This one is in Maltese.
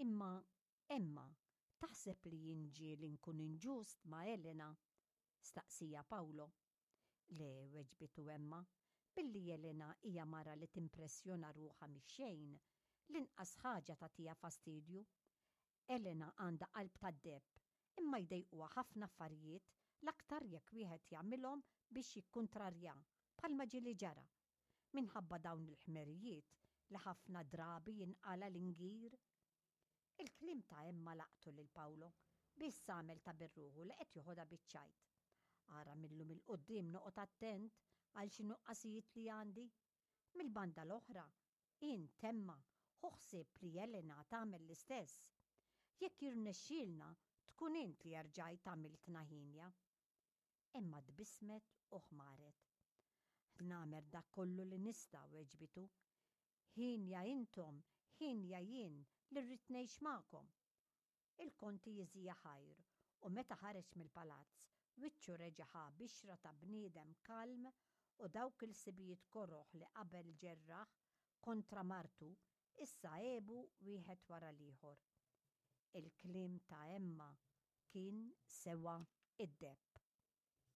Imma, Emma, taħseb li jien ġieli nkun inġust ma' Elena? staqsieha Paolo. Le, weġbitu Emma, billi Elena hija mara li timpressjona ruħha mix-xejn, l-inqas ħaġa tagħtiha fastidju. Elena għandha qalb tad-deheb, imma jdejquha ħafna affarijiet, l-aktar jekk wieħed jagħmilhom biex jikkuntrarja, bħalma ġieli ġara. Minħabba dawn il-ħmerijiet li ħafna drabi jinqala' l-ingir. Il-kliem ta' Emma laqtu lil Paolo, biss għamel ta' bir-ruħu li qed joħodha biċ-ċajt. Ara mil-lum 'il quddiem noqgħod attent għal xi nuqqasijiet li għandi. Mill-banda l-oħra, int, Emma, ħu ħsieb li Elena tagħmel l-istess. Jekk jirnexxielna, tkun int li erġajt għamiltna hienja. Emma tbissmet u ħmaret. Nagħmel dak kollu li nista', weġbitu. Hienja intom, hienja jien li rrid ngħix magħkom. Il-Konti jiżija ħajr u meta ħareġ mill-palazz, wiċċu reġa' ħa bixra ta' bniedem kalm u dawk il-ħsibijiet koroh li qabel ġerraħ kontra martu issa għebu wieħed wara l-ieħor. Il-kliem ta' Emma kien sewa d-deheb.